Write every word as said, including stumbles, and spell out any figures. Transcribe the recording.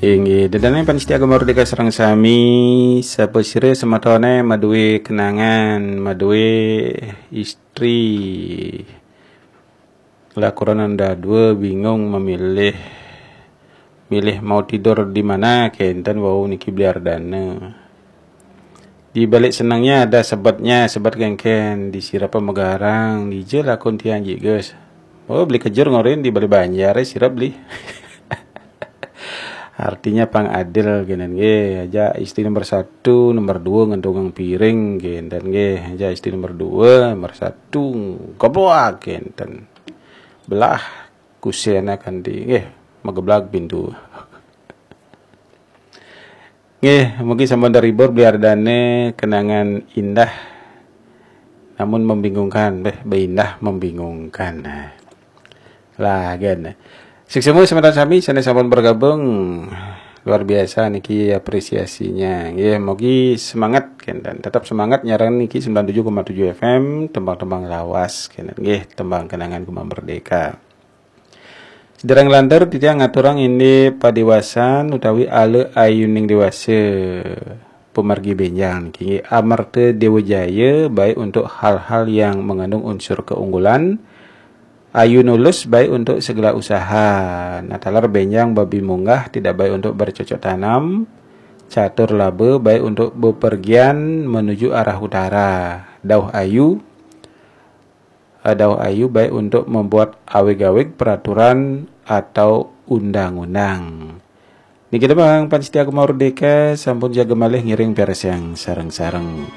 Inggih, dedane panitia Gema Merdeka sareng sami, sapa sira semetone maduwe kenangan, maduwe istri, lakuran anda dua bingung memilih, milih mau tidur di mana, kenten wau niki Bli Ardana. Di balik senengnya ada sebetnya, sebet kengken, di sira pemegarang, dija lakun tiang jigus. Oh, Bli Kejur ngorin di balik banjar, eh, sira Bli. Artinya pang adil kenen nggih. Aja istri nomor satu, nomor dua ngentungang piring kenten nggih. Aja istri nomor dua, nomor satu kebuak kenten. Belah kusena kanti nggih, mageblak pintu. Nggih, mungkin sampun terhibur Bli Ardane, kenangan indah namun membingungkan, beh, beindah membingungkan. Nah. Lah, gen. Suksma semeton sami sane sampun bergabung. Luar biasa niki apresiasinya. Nggih, mugi semangat kenten. Tetap semangat nyarang niki sembilan tujuh koma tujuh F M, tembang-tembang lawas kenten. Nggih, tembang kenangan Gema Merdeka. Sedereng lantur titiang ngaturang indik padiwasan utawi ala ayuning dewasa pamargi benjang niki nggih Amerta Dewa Jaya, baik untuk hal-hal yang mengandung unsur keunggulan, ayu nulus baik untuk segala usaha. Nah, taler benjang babi munggah tidak baik untuk bercocok tanam, catur laba baik untuk bepergian menuju arah utara. Dauh ayu, eh, dauh ayu baik untuk membuat awig-awig peraturan atau undang-undang. Niki tembang panitia Gema Merdeka sampun jaga malih ngiring piarsayang sareng-sareng.